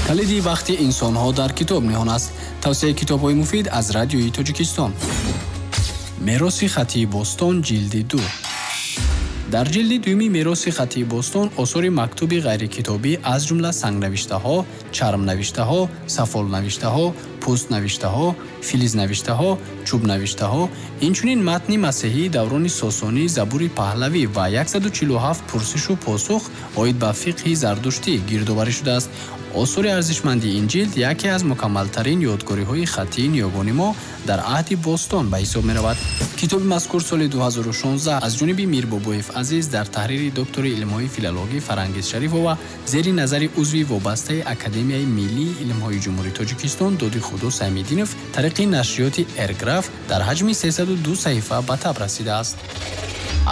Калиди бахти инсонҳо дар китоб ниҳон аст. Тавсияи китобҳои муфид аз Радиои Тоҷикистон. Мероси хаттии бостон, ҷилди 2. Дар ҷилди дуюми мероси хаттии бостон осори мактуби ғайрикитобӣ аз ҷумла сангнавиштаҳо, чармнавиштаҳо, сафолнавиштаҳо, пӯстнавиштаҳо, филизнавиштаҳо, чӯбнавиштаҳо, инчунин матни масеҳии даврони сосонӣ, Забури паҳлавӣ ва 147 пурсишу посух оид ба фиқҳи зардуштӣ гирдоварӣ шудааст. Осори арзишманди ин ҷилд яке аз мукаммалтарин ёдгориҳои хаттии ниёгони мо дар аҳди бостон ба ҳисоб меравад. Китоби мазкур соли 2016 аз ҷониби Мирбобоев Азиз дар таҳрири доктори илмҳои филологӣ Фарангиз Шарифова зери назари узви вобастаи Академияи миллии илмҳои Ҷумҳурии Тоҷикистон Доди Худо Саймиддинов тариқи нашриёти Эрграф дар ҳаҷми 302 саҳифа ба таб расидааст.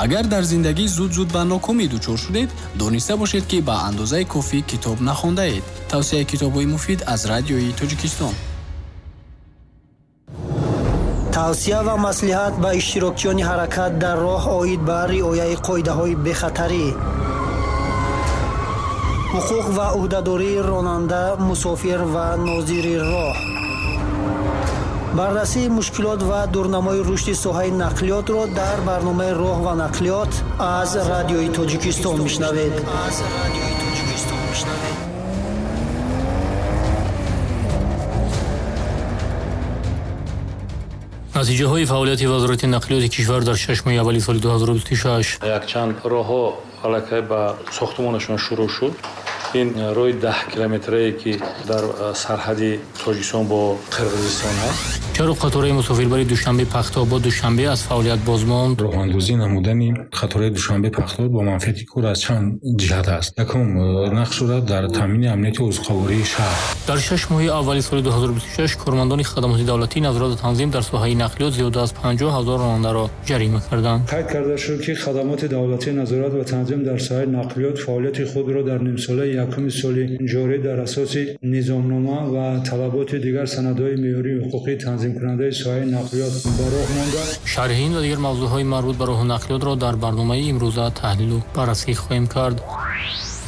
Агар дар зиндагӣ зуд-зуд ба нокомӣ дучор шудед, дониста бошед, ки ба андозаи кофӣ китоб нахондаед. Тавсияи китобҳои муфид аз Радиои Тоҷикистон. Тавсия ва маслиҳат ба иштирокчиёни ҳаракат дар роҳ оид ба риояи қоидаҳои бехатарӣ, ҳуқуқ ва ӯҳдадории ронанда, мусофир ва нозири роҳ, баррасии мушкилот ва дурнамои рушди соҳаи нақлиётро дар барномаи «Роҳ ва нақлиёт» аз Радиои Тоҷикистон мешунавед. Натиҷаҳои фаъолияти Вазорати нақлиёти кишвар дар 6 моҳи аввали соли 2026. Якчанд роҳҳо аллакай ба сохтмонашон шурӯъ шуд. Ин роҳи 10 километрае, ки дар сарҳади Тоҷикистон бо Қирғизистон аст. Чаро қатораи мусофирбари Душанбе Пахтобод Душанбе аз фаъолият боз монд? Роҳандозӣ намудани қатораи Душанбе Пахтобод бо манфиати кор аз чанд ҷиҳат аст. Якум, нақш дорад дар таъмини амнияти озуқавории шаҳр. Дар 6 моҳи аввали соли 2026 кормандони хадамоти давлатии назорат ва танзим дар соҳаи нақлиёт зиёда аз 50 ҳазор ронандаро ҷарима карданд. Қайд карда шуд, ки хадамоти давлатии назорат ва танзим дар соҳаи нақлиёт фаъолияти худро дар нимсолаи якуми соли ҷорӣ дар асоси низомнома ва талаботи дигар санадҳои меъёрии ҳуқуқии танзимкунандаи соҳаи нақлиёт ба роҳ монда. Шарҳи ин ва дигар мавзӯъҳои марбут ба роҳу нақлиётро дар барномаи имрӯза таҳлилу баррасӣ хоҳем кард.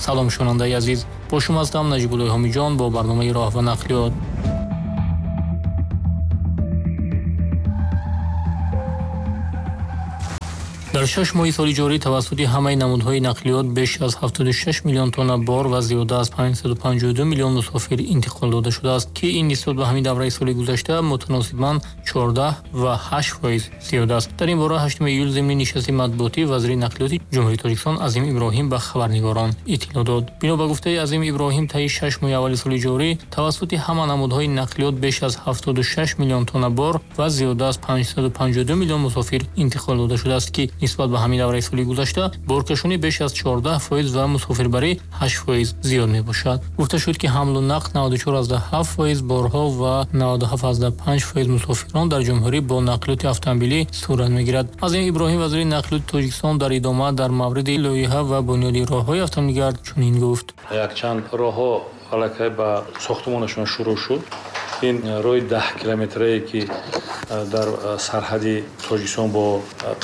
Салом, шунавандаи азиз, бо шумо ҳастам Наҷибуллои Ҳомиҷон бо барномаи «Роҳ ва нақлиёт». Дар 6 моҳи соли ҷорӣ тавассути ҳамаи намудҳои нақлиёт беш аз 76 миллион тонна бор ва зиёда аз 552 миллион мусофир интиқол дода шудааст, ки ин нисбат ба ҳамин давраи соли гузашта мутаносибан 14,8% зиёд аст. Дар ин бора 8 июл зимни нишасти матбуотӣ вазири нақлиёти Ҷумҳурии Тоҷикистон Азим Иброҳим ба хабарнигорон иттилоъ дод. Бино ба гуфтаи Азим Иброҳим, таи 6 моҳи аввали соли ҷорӣ тавассути ҳама намудҳои нақлиёт беш аз 76 миллион тонна бор ва зиёда аз 552 миллион мусофир интиқол дода шудааст, ки нисбат ба ҳамин давраи соли гузашта боркашонӣ беш аз 14% ва мусофирбарӣ 8% зиёд мебошад. Гуфта шуд, ки ҳамлу нақл 94,7% борҳо ва 97,5% мусофирон дар ҷумҳурӣ бо нақлиёти автомобилӣ сурат мегирад. Азим Иброҳим, вазири нақлиёти Тоҷикистон, дар идома дар мавриди лоиҳа ва бунёди роҳҳои автомобилгард чунин гуфт. Якчанд роҳҳо аллакай ба сохтмонашон шурӯъ шуд. Ин роҳи 10 километрае, ки дар сарҳади Тоҷикистон бо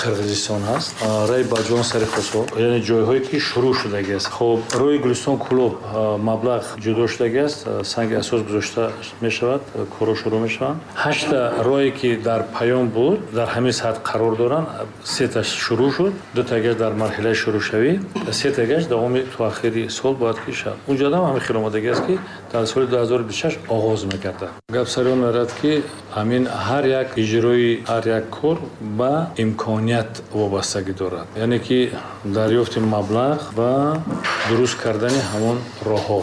Қирғизистон аст, роҳи Баҷон сари Хосор, яъне ҷойҳое, ки шурӯъ шудагӣ аст. Хоб, роҳи Гулистон Кӯлоб маблағ ҷудо шудагӣ аст, санги асос гузошта мешавад, корҳо шурӯъ мешаванд. 8 роҳе, ки дар паём буд, дар ҳамин сатҳ қарор доранд. 3таш шурӯъ шуд, 2тагаш дар марҳилаи шурӯъшавӣ, 3тагаш давоми то охири сол бояд ки шавад. Унҷода ҳам ҳамин хел омодагӣ аст, ки дар соли 2026 оғоз мегардад. Гап сари он меравад, ки ҳамин ҳар як иҷрои ҳар як кор ба имконият вобастагӣ дорад, яъне ки дарёфти маблағ ва дуруст кардани ҳамон роҳҳо.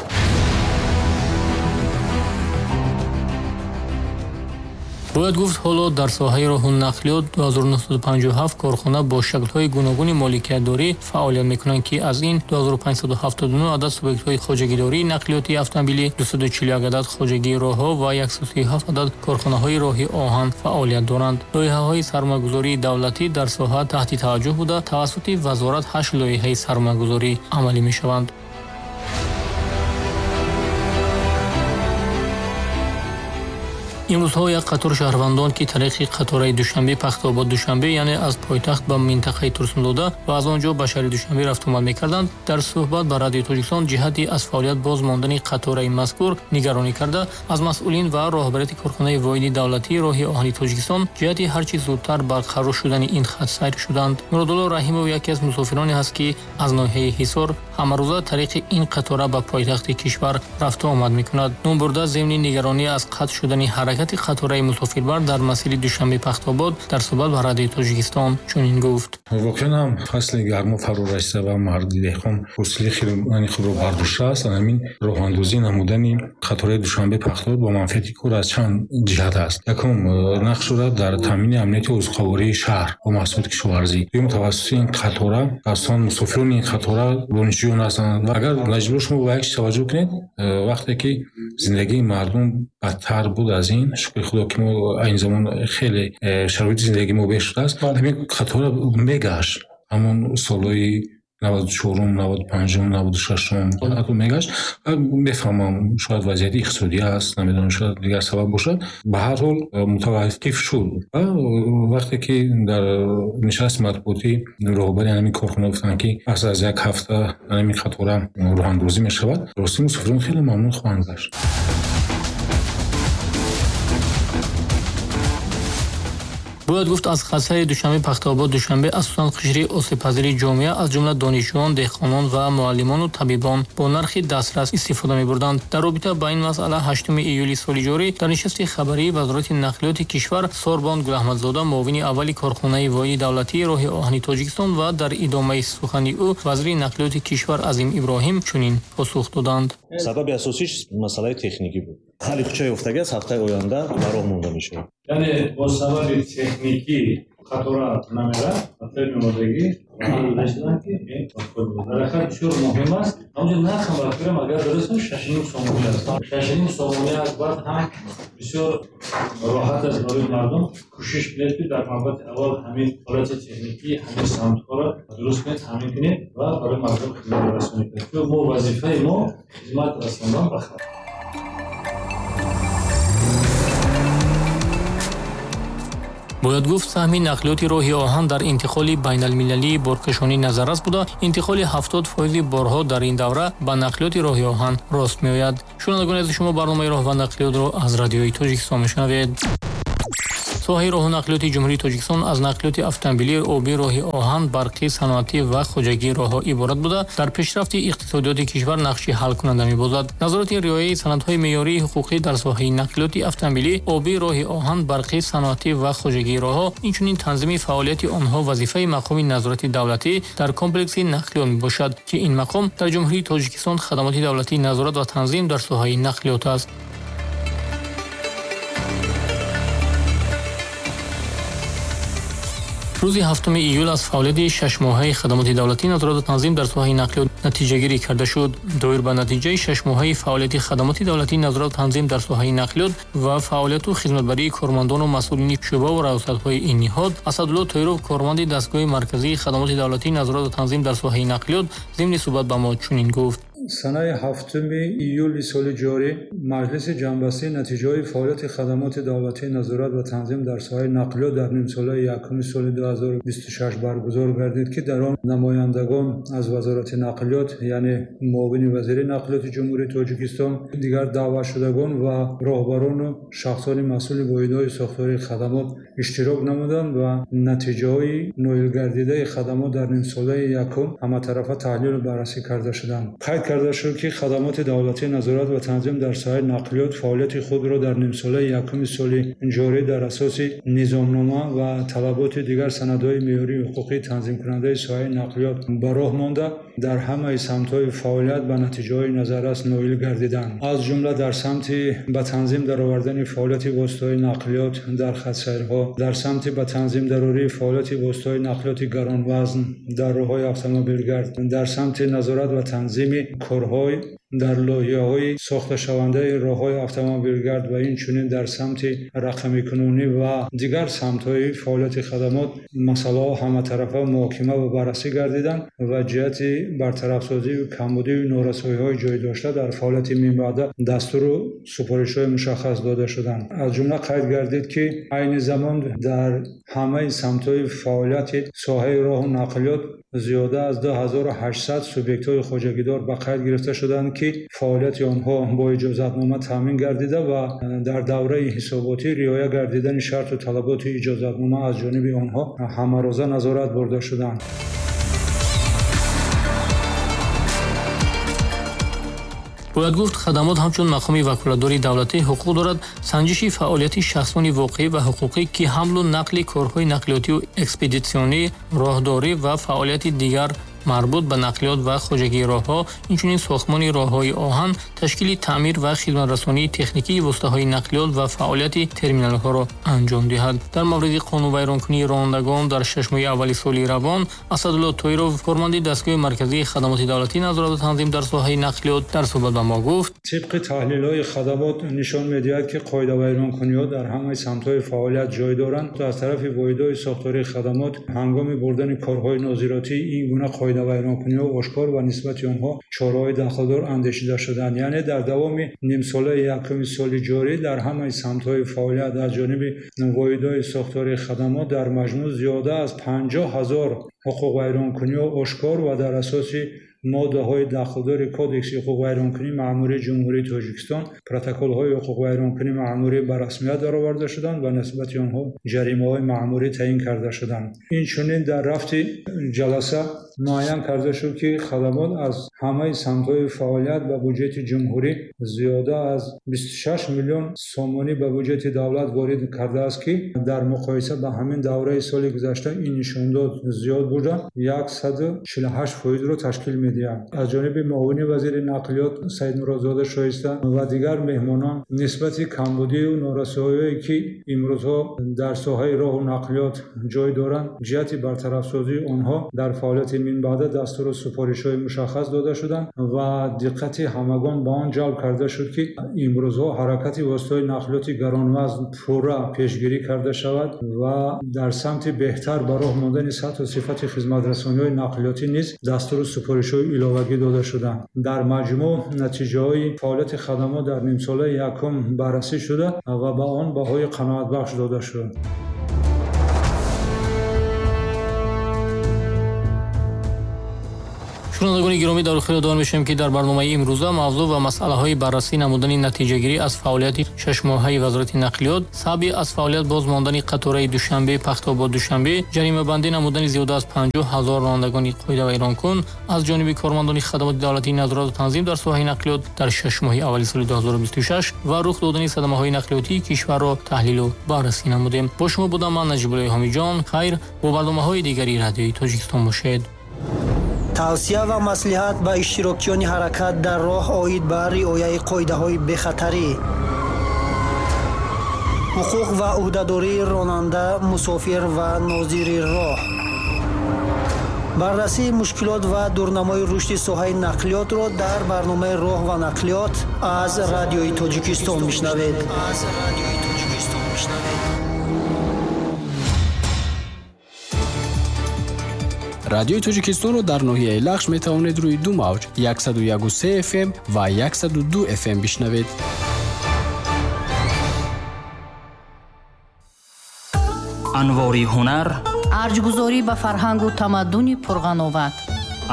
Бояд гуфт, ҳоло дар соҳаи роҳу нақлиёт 2957 корхона бо шаклҳои гуногуни моликиятдорӣ фаъолият мекунанд, ки аз ин 2579 адад субъектҳои хоҷагидории нақлиёти автомобилӣ, 241 адад хоҷагии роҳҳо ва 137 адад корхонаҳои роҳи оҳан фаъолият доранд. Лоиҳаҳои сармоягузории давлатӣ дар соҳа таҳти таваҷҷӯҳ буда, тавассути вазорат 8 лоиҳаи сармоягузорӣ амалӣ мешаванд. Имрӯзҳо як қатор шаҳрвандон, ки тариқи қатораи Душанбе Пахтаобод Душанбе, яъне аз пойтахт ба минтақаи Турсунзода ва аз он ҷо ба шаҳри Душанбе рафтуомад мекарданд, дар суҳбат ба Радиои Тоҷикистон ҷиҳати аз фаъолият боз мондани қатораи мазкур нигаронӣ карда, аз масъулин ва роҳбарияти корхонаи воҳиди давлатии роҳи оҳани Тоҷикистон ҷиҳати ҳарчи зудтар барқарор шудани ин хатсайр шуданд. Муродулло Раҳимов яке аз мусофироне ҳаст, ки аз ноҳияи Ҳисор ҳамарӯза тариқи ин қатора ба пойтахти кишвар рафту омад мекунад. Номбурда зимни нигаронӣ аз қатъ шудани ҳаракати қатораи мусофирбар дар масири Душанбе Пахтаобод дар суҳбат ба Радиои Тоҷикистон чунин гуфт: воқеан ҳам фасли гармо фаро расида ва марди деҳқон ҳосили хирмани худро бардоштааст. Ҳамин роҳандозӣ намудани қатораи Душанбе Пахтаобод бо манфиати кор аз чанд ҷиҳат аст. Якум, нақш дорад дар таъмини амнияти озуқавории шаҳр бо маҳсулоти кишоварзӣ. Дуюм, тавассути ин қатора аслан мусофирони ин қатора донишҷӯён ҳастанд. Ва агар наҷибо шумо ба як чиз таваҷҷӯҳ кунед, вақте ки зиндагии мардум бадтар буд аз ин, шукри Худо ки мо айни замон хеле шароити зиндагии мо беҳ шудааст, ҳамин қатора мегашт. Ҳамон солҳои 94-ум, 95-ум, 96-ум ҳатто мегашт. Мефаҳмам, шояд вазъияти иқтисодӣ аст, намедонам, шояд дигар сабаб бошад. Ба ҳар ҳол мутаваққиф шуд. Ва вақте ки дар нишасти матбуотӣ роҳбари ҳамин корхона гуфтанд, ки пас аз як ҳафта ҳамин қатора роҳандозӣ мешавад, ростӣ мусофирон хеле мамнун хоҳанд гашт. Бояд гуфт, аз хатсайри Душанбе Пахтаобод Душанбе асосан қишри осебпазири ҷомеа, аз ҷумла донишҷӯён, деҳқонон ва муаллимону табибон бо нархи дастрас истифода мебурданд. Дар робита ба ин масъала 8 июли соли ҷорӣ дар нишасти хабарии Вазорати нақлиёти кишвар Сорбон Гулаҳмадзода, муовини аввали корхонаи воҳиди давлатии роҳи оҳани Тоҷикистон ва дар идомаи сухани ӯ вазири нақлиёти кишвар Азим Иброҳим чунин посух доданд. Сабаби асосиш масъалаи техникӣ буд. Ҳалли хучаи ёфтагӣ аст, ҳафтаи оянда ба роҳ монда мешавад. Яъне бо сабаби техникӣ қатора намерад, ҳафтаи меомадагӣ ҳал ки дар ҳақиқат бисёр муҳим аст. Ҳамонҷо нархам ба фикрам агар дуруст 6.5 сомонӣ аст. 6.5 сомонӣ аст, баъд ҳам бисёр роҳат аст барои мардум. Кӯшиш кунед, ки дар навбати аввал ҳамин ҳолати техникӣ, ҳамин самтҳоро дуруст кунед, таъмин кунед ва барои мардум хизмат расонед. Мо вазифаи мо хизмат расондан ба халқ. Бояд гуфт, саҳми нақлиёти роҳи оҳан дар интиқоли байналмилалии боркашонӣ назаррас буда, интиқоли 70% борҳо дар ин давра ба нақлиёти роҳи оҳан рост меояд. Шунавандагони азиз, шумо барномаи роҳ ва нақлиётро аз Радиои Тоҷикистон мешунавед. Соҳаи роҳу нақлиёти Ҷумҳурии Тоҷикистон аз нақлиёти автомобилӣ, обӣ, роҳи оҳан, барқӣ, саноатӣ ва хоҷагии роҳҳо иборат буда, дар пешрафти иқтисодиёти кишвар нақши ҳалкунанда мебозад. Назорати риояи санадҳои меъёрии ҳуқуқӣ дар соҳаи нақлиёти автомобилӣ, обӣ, роҳи оҳан, барқӣ, саноатӣ ва хоҷагии роҳҳо, инчунин танзими фаъолияти онҳо вазифаи мақоми назорати давлатӣ дар комплекси нақлиёт мебошад, ки ин мақом дар Ҷумҳурии Тоҷикистон хадамоти давлатии назорат ва танзим дар соҳаи нақлиёт аст. Рӯзи 7 июл аз фаъолияти шашмоҳаи хадамоти давлатии назорат ва танзим дар соҳаи нақлиёт натиҷагирӣ карда шуд. Доир ба натиҷаи шашмоҳаи фаъолияти хадамоти давлатии назорат ва танзим дар соҳаи нақлиёт ва фаъолияту хизматбарии кормандону масъулини шӯъба ва раёсатҳои ин ниҳод, Асадулло Тоиров, корманди дастгоҳи марказии хадамоти давлатии назорат ва танзим дар соҳаи нақлиёт, зимни суҳбат ба мо чунин гуфт: Санаи 7 июли соли ҷорӣ Маҷлиси ҷамъбастии натиҷаҳои фаъолияти хадамоти давлатии назорат ва танзим дар соҳаи нақлиёт дар нимсолаи якуми соли 2026 баргузор гардид, ки дар он намояндагон аз Вазорати нақлиёт, яъне муовини вазири нақлиёти Ҷумҳурии Тоҷикистон, дигар даъватшудагон ва роҳбарону шахсони масъули воҳидҳои сохтории хадамот иштирок намуданд ва натиҷаҳои ноилгардидаи хадамот дар нимсолаи якум ҳаматарафа таҳлилу баррасӣ карда шуданд. Қайд карда шуд, ки хадамоти давлатии назорат ва танзим дар соҳаи нақлиёт фаъолияти худро дар нимсолаи якуми соли ҷорӣ дар асоси низомнома ва талаботи дигар санадҳои меъёрии ҳуқуқии танзимкунандаи соҳаи нақлиёт ба роҳ монда, дар ҳамаи самтҳои фаъолият ба натиҷаҳои назаррас ноил гардиданд. Аз ҷумла дар самти ба танзим даровардани фаъолияти воситаҳои нақлиёт дар хатсайрҳо, дар самти ба танзим дарории фаъолияти воситаҳои нақлиёти гаронвазн дар роҳҳои автомобилгард, дар самти назорат ва танзими корҳои Дар лоиҳаҳои сохташавандаи роҳҳои автомобилгард ва инчунин дар самти рақамикунонӣ ва дигар самтҳои фаъолияти хадамот масъалаҳо ҳаматарафа муҳокима ва баррасӣ гардиданд ва ҷиҳати бартарафсозию камбудию норасоиҳои ҷой дошта дар фаъолияти минбаъда дастуру супоришҳои мушаххас дода шуданд. Аз ҷумла қайд гардид, ки айни замон дар ҳамаи самтҳои фаъолияти соҳаи роҳу нақлиёт зиёда аз 2800 субъектҳои хоҷагидор ба қайд гирифта шуданд, ки фаъолияти онҳо бо иҷозатнома таъмин гардида ва дар давраи ҳисоботӣ риоя гардидани шарту талаботи иҷозатнома аз ҷониби онҳо ҳамарӯза назорат бурда шуданд. Бояд гуфт, хадамот ҳамчун мақоми ваколатдори давлатӣ ҳуқуқ дорад санҷиши фаъолияти шахсони воқеӣ ва ҳуқуқӣ, ки ҳамлу нақли корҳои нақлиётию экспедитсионӣ, роҳдорӣ ва фаъолияти дигар марбут ба нақлиёт ва хоҷагии роҳҳо, инчунин сохтмони роҳҳои оҳан, ташкили таъмир ва хидматрасонии техникии воситаҳои нақлиёт ва фаъолияти терминалҳоро анҷом диҳад. Дар мавриди қонунвайронкунии ронандагон дар 6 моҳи аввали соли равон Асадулло Тоиров, корманди дастгоҳи марказии хадамоти давлатӣ назорат ва танзим дар соҳаи нақлиёт, дар суҳбат ба мо гуфт: тибқи таҳлилҳои хадамот нишон медиҳад, ки қоидавайронкуниҳо дар ҳамаи самтҳои фаъолият ҷой доранд. Аз тарафи воҳидҳои сохтории хадамот ҳангоми бурдани корҳои нозиротӣ ин гуна қоидавайронкуниҳо ошкор ва нисбати онҳо чораҳои дахлдор андешида шуданд. Яъне дар давоми нимсолаи якуми соли ҷорӣ дар ҳамаи самтҳои фаъолият аз ҷониби воҳидҳои сохтории хадамот дар маҷмӯъ зиёда аз 50 000 ҳуқуқвайронкуниҳо ошкор ва дар асоси моддаҳои дахлдори Кодекси ҳуқуқвайронкунии маъмурии Ҷумҳурии Тоҷикистон протоколҳои ҳуқуқвайронкунии маъмурӣ ба расмият дароварда шуданд ва нисбати онҳо ҷаримаҳои маъмурӣ таъин карда шуданд. Инчунин дар рафти ҷаласа муайян карда шуд, ки хадамот аз ҳамаи самтҳои фаъолият ба буҷети ҷумҳурӣ зиёда аз 26 миллион сомонӣ ба буҷети давлат ворид кардааст, ки дар муқоиса ба ҳамин давраи соли гузашта ин нишондод зиёд буда 148%-ро ташкил медиҳад. Аз ҷониби муовини вазири нақлиёт Саидмуродзода Шоиста ва дигар меҳмонон нисбати камбудию норасоиҳое, ки имрӯзҳо дар соҳаи роҳу нақлиёт ҷой доранд, ҷиҳати бартарафсозии онҳо дар фаъолияти минбаъда дастуру супоришҳои мушаххас дода шуданд ва диққати ҳамагон ба он ҷалб карда шуд, ки имрӯзҳо ҳаракати воситаҳои нақлиёти гаронвазн пурра пешгирӣ карда шавад ва дар самти беҳтар ба роҳ мондани сатҳу сифати хизматрасониҳои нақлиётӣ низ дастуру супоришҳои иловагӣ дода шуданд. Дар маҷмӯъ натиҷаҳои фаъолияти хадамот дар нимсолаи якум баррасӣ шуда ва ба он баҳои қаноатбахш дода шуд. Шунавандагони гиромӣ, дар охир ёдовар мешавем, ки дар барномаи имрӯза мавзӯъ ва масъалаҳои баррасӣ намудани натиҷагирӣ аз фаъолияти шашмоҳаи вазорати нақлиёт, сабаби аз фаъолият боз мондани қатораи Душанбе Пахтобод Душанбе, ҷаримабандӣ намудани зиёда аз 50 000 ронандагони қоидавайронкун аз ҷониби кормандони хадамоти давлатии назорат ва танзим дар соҳаи нақлиёт дар 6 моҳи аввали соли 2026 ва рух додани садамаҳои нақлиётии кишварро таҳлилу баррасӣ намудем. Бо шумо будам ман Наҷибуллои Ҳомиҷон. Хайр, бо барномаҳои дигари радиои Тоҷикистон бошед. Тавсия ва маслиҳат ба иштирокчиёни ҳаракат дар роҳ оид ба риояи қоидаҳои бехатарӣ, ҳуқуқ ва ӯҳдадории ронанда, мусофир ва нозири роҳ, баррасии мушкилот ва дурнамои рушди соҳаи нақлиётро дар барномаи роҳ ва нақлиёт аз радиои Тоҷикистон мешунавед. Радиои Тоҷикистонро дар ноҳияи Лахш метавонед рӯи ду мавҷ 101.3 FM ва 102 FM бишнавед. Анвори ҳунар, арҷгузорӣ ба фарҳангу тамаддуни пурғановат,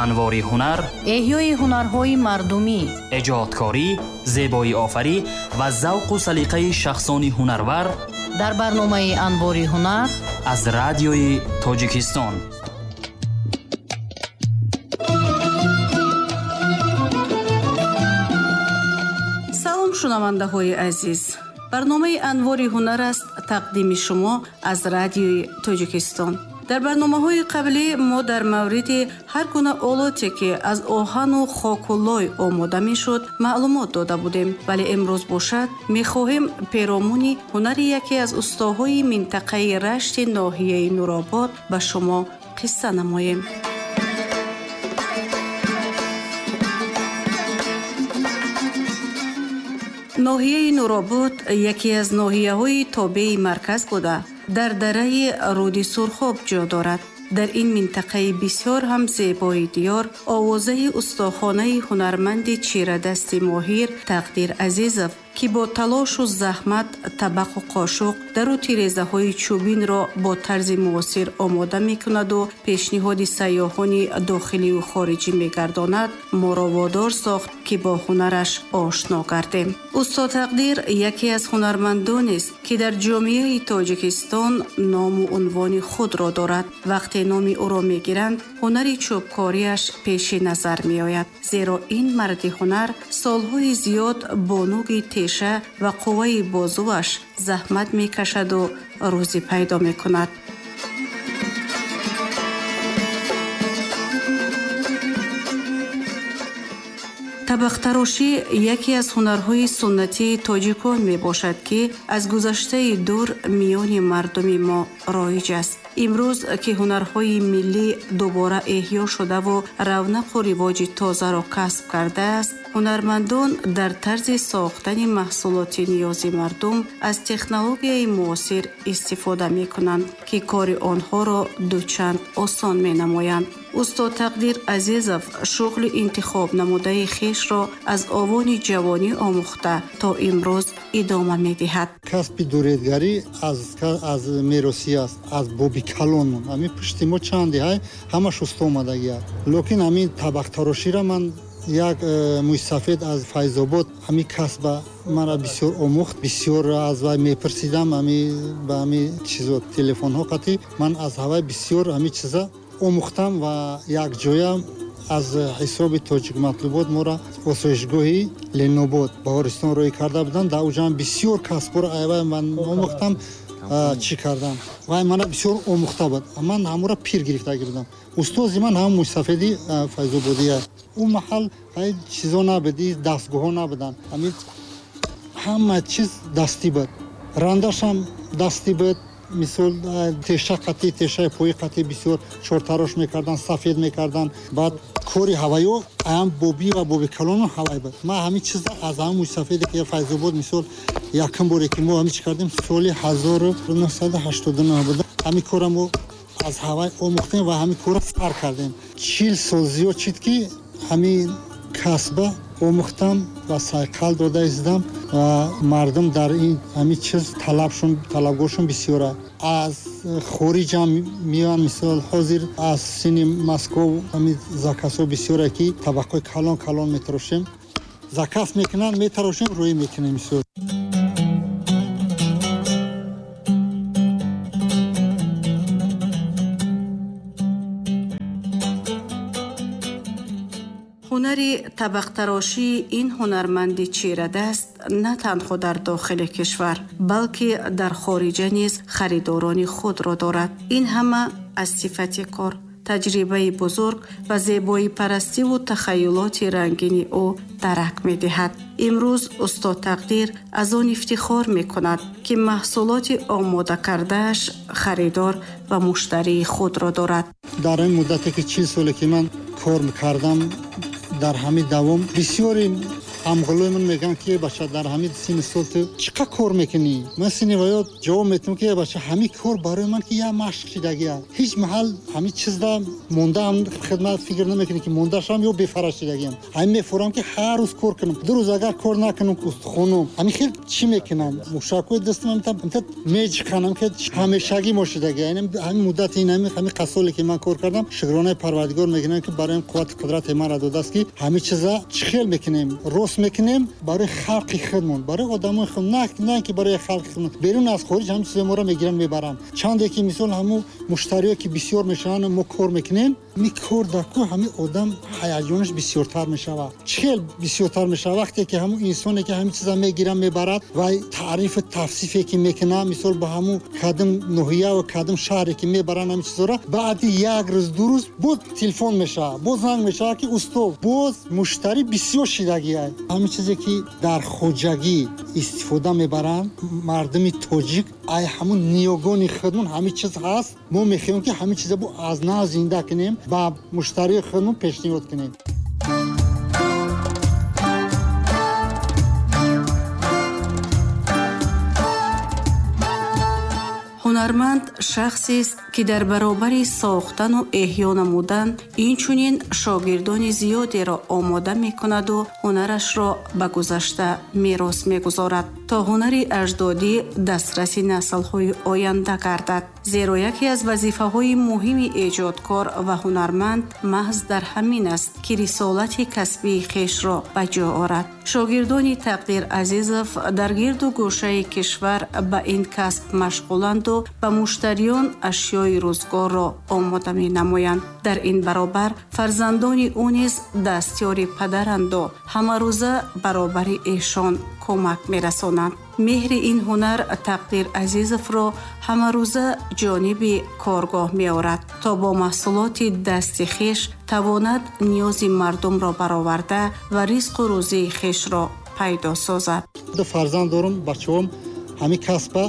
анвори ҳунар, эҳёи ҳунарҳои мардумӣ, эҷодкорӣ, зебоиофарӣ ва завқу салиқаи шахсони ҳунарвар дар барномаи Анвори ҳунар аз радиои Тоҷикистон. Шунавандаҳои азиз, барномаи Анвори ҳунар аст тақдими шумо аз радиои Тоҷикистон. Дар барномаҳои қаблӣ мо дар мавриди ҳар гуна олоте, ки аз оҳану хоку лой омода мешуд, маълумот дода будем. Вале имрӯз бошад, мехоҳем перомуни ҳунари яке аз устоҳои минтақаи Рашти ноҳияи Нуробод ба шумо қисса намоем. Ноҳияи Нуробод яке аз ноҳияҳои тобеи марказ буда, дар дараи руди Сурхоб ҷо дорад. Дар ин минтақаи бисёр ҳам зебои диёр овозаи устохонаи ҳунарманди чирадасти моҳир Тақдир Азизов, ки бо талошу заҳмат табақу қошуқ, дару тирезаҳои чӯбинро бо тарзи муосир омода мекунаду пешниҳоди сайёҳони дохиливу хориҷӣ мегардонад, моро водор сохт, ки бо ҳунараш ошно гардем. Усто Тақдир яке аз ҳунармандонест, ки дар ҷомеаи Тоҷикистон ному унвони худро дорад. Вақте номи ӯро мегиранд, ҳунари чӯбкориаш пеши назар меояд, зеро ин марди ҳунар солҳои зиёд бо нуги теша ва қувваи бозуаш заҳмат мекашаду рӯзӣ пайдо мекунад. Табақтарошӣ яке аз ҳунарҳои суннатии тоҷикон мебошад, ки аз гузаштаи дур миёни мардуми мо роиҷ аст. Имрӯз ки ҳунарҳои миллӣ дубора эҳё шудаву равнақу ривоҷи тозаро касб кардааст, ҳунармандон дар тарзи сохтани маҳсулоти ниёзи мардум аз технологияи муосир истифода мекунанд, ки кори онҳоро дучанд осон менамоянд. Устод Тақдир Азизов шуғли интихоб намудаи хешро аз овони ҷавонӣ омӯхта то имрӯз идома медиҳад. Касби дуредгарӣ аз меросӣ аст, аз боби калонмон. Ҳамин пушти мо чанде ҳай, ҳамаш усто омадагӣ аст. Лекин ҳамин табақтароширо ман як мӯйсафед аз Файзобод ҳамин касба мара бисёр омӯхт, бисёр аз вай мепурсидам, ҳами ба ҳами чизо телефонҳо қатӣ ман аз ҳавай бисёр ҳами чиза омӯхтам ва якҷоя аз ҳисоби Тоҷикматлубот моро осоишгоҳи Ленобод Баҳористон рӯй карда буданд. Дар уҷаам бисёр касбҳоро айвай ман омӯхтам, чӣ кардам. Вай мана бисёр омӯхта буд. Ман ҳамура пир гирифтагӣ будам. Устози ман ҳам мӯйсафеди Файзободия. Ӯ маҳал чизо набуд, дастгоҳҳо набуданд. Ҳамин ҳама чиз дастӣ буд. Рандашам дастӣ буд. Мисол теша қатӣ, тешаи пои қатӣ бисёр чортарош мекардан, сафед мекардан. Баъд кори ҳавайё аям бобӣ ва боби калону ҳавай буд. Ман ҳамин чиза аз ҳамин мӯйсафеде ки Файзобод мисол якум боре ки мо ҳамин чӣ кардем, соли 1989 буд. Ҳамин кора мо аз ҳавай омӯхтем ва ҳамин кора сар кардем. 40 сол зиёд шид ки ҳамин касба омӯхтам ва сайқал дода издам ва мардум дар ин ҳамин чиз талабгоршон бисёр аст. Аз хориҷам меоянд, мисол ҳозир аз сини Москов ҳамин заказҳо бисёр аст, ки табақҳои калон калон метарошем, заказ мекунанд, метарошем, рӯй мекунем мисол. Ҳунари табақтарошии ин ҳунарманди чирадаст на танҳо дар дохили кишвар, балки дар хориҷа низ харидорони худро дорад. Ин ҳама аз сифати кор, таҷрибаи бузург ва зебоипарастиву тахайюлоти рангини ӯ дарак медиҳад. Имрӯз устод Тақдир аз он ифтихор мекунад, ки маҳсулоти омода кардааш харидор ва муштарии худро дорад. Дар ин муддате ки 40 соле ки ман кор кардам, дар ҳамин давом бисёри ҳамғулои ман мегӯянд, ки бача дар ҳамин синни сол ту чӣ қадр кор мекунӣ? Ман синни ваё ҷавоб метавам, ки бача ҳамин кор барои ман ки як машқ шидагия. Ҳеҷ маҳал ҳамин чизда мондаам хидмат фикр намекунӣ, ки мондаашам ё бефараш шидагиям. Ҳамин мефурам, ки ҳар рӯз кор кунам. Ду рӯз агар кор накунам, устухонум ҳамин хел чӣ мекунам? Мушакҳои дастам ҳамин меҷиқанам, ки ҳамешагӣ мо шидагия. Ҳамин муддати ин ҳамин қасоле ки ман кор кардам, шукронаи Парвардигор мекунам, ки барои қуввати қудрати манро додааст, ки ҳамин чиза чӣ хел мекунем, рост мекунем барои халқи худмон, барои одамои худ, на ки барои халқи худмон. Берун аз хориҷ ҳамин чизо моро мегиранд, мебаранд. Чанде ки мисол ҳамун муштариё ки бисёр мешаванд, мо кор мекунем, ми кор дар ку ҳамин одам ҳаяҷонаш бисёртар мешавад. Чӣ хел бисёртар мешавад? Вақте ки ҳамун инсоне ки ҳамин чиза мегирад, мебарад ва таърифу тавсифе ки мекунад, мисол ба ҳамун кадом ноҳия ва кадом шаҳре ки мебаранд ҳамин чизоро, баъди як рӯз ду рӯз боз телефон мешавад, боз занг мешавад, ки усто, боз муштарӣ бисёр шидагиай. Ҳамин чизе ки дар хоҷагӣ истифода мебаранд мардуми тоҷик, ай ҳамун ниёгони худмон ҳамин чиз ҳаст. Мо мехоҳем, ки ҳамин чиза бо аз нав зинда кунем, ба муштарии худмон пешниҳод кунем. Ҳунарманд шахсест, ки дар баробари сохтану эҳё намудан, инчунин шогирдони зиёдеро омода мекунаду ҳунарашро ба гузашта мерос мегузорад, то ҳунари аҷдодӣ дастраси наслҳои оянда гардад. Зеро яке аз вазифаҳои муҳими эҷодкор ва ҳунарманд маҳз дар ҳамин аст, ки рисолати касбии хешро ба ҷо орад. Шогирдони Тақдир Азизов дар гирду гӯшаи кишвар ба ин касб машғуланду ба муштариён ашёи рӯзгорро омода менамоянд. Дар ин баробар фарзандони ӯ низ дастёри падаранду ҳамарӯза баробари эшон кӯмак мерасонанд. Меҳри ин ҳунар Тақдир Азизовро ҳамарӯза ҷониби коргоҳ меорад, то бо маҳсулоти дасти хеш тавонад ниёзи мардумро бароварда ва ризқу рӯзии хешро пайдо созад. Ду фарзанд дорам, бачаҳом ҳамин касба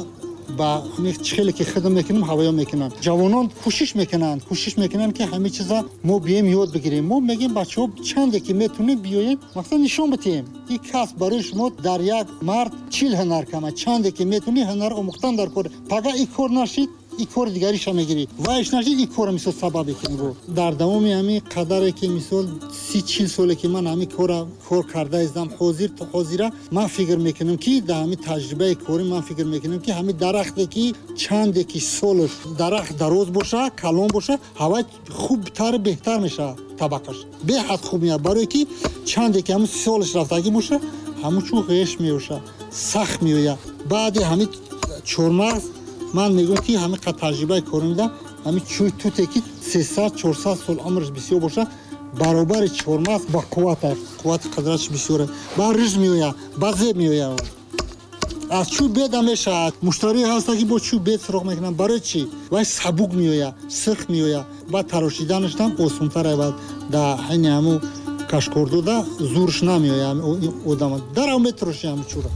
ба ҳамин хеле ки хидм мекунем, ҳавоё мекунанд. Ҷавонон кӯшиш мекунанд, ки ҳамин чиза мо биёем ёд бигирем. Мо мегӯем бачаҳо чанде ки метавонем биёем, мақсад нишон бидиҳем. Ин касб барои шумо дар як мард 40 ҳунар кама. Чанде ки метавонӣ ҳунар омӯхтан дар кор. Пага ин кор нашид, ин кори дигариша мегирӣ. Вайш нашид, ин кора мисол сабаб мекунӣ. Дар давоми ҳамин қадаре ки мисол 30-40 соле ки ман ҳамин кора кор карда издам, ҳозир то ҳозира ман фикр мекунам, ки дар ҳамин таҷрибаи корӣ ман фикр мекунам, ки ҳамин дарахте ки чанде ки солаш дарахт дароз боша, калон боша, ҳавай хубтар беҳтар мешавад табақаш. Беҳад хуб меяд, барое ки чанде ки ҳамин солаш рафтагӣ боша, ҳамун чун ғеш меоша, сахт меояд. Баъди ҳамин чормағз ман мегӯям, ки ҳамин қад таҷрибаи корӣ медам, ҳамин чӯй туте ки 300-400 сол умраш бисёр боша, баробари чормағз ба қувват, қуввати қудраташ бисёр, ба риж меояд, ба зеб меояд. Аз чӯй беда мешавад. Муштарӣ ҳаста, ки бо чӯй бед суроғ мекунанд. Барои чӣ? Вай сабук меояд, сирх меояд, баъд тарошиданашам осонтар равад. Дар ҳайни ҳамун кашкордода зурш намеояд одама. Дарав метароши ҳамун чӯра.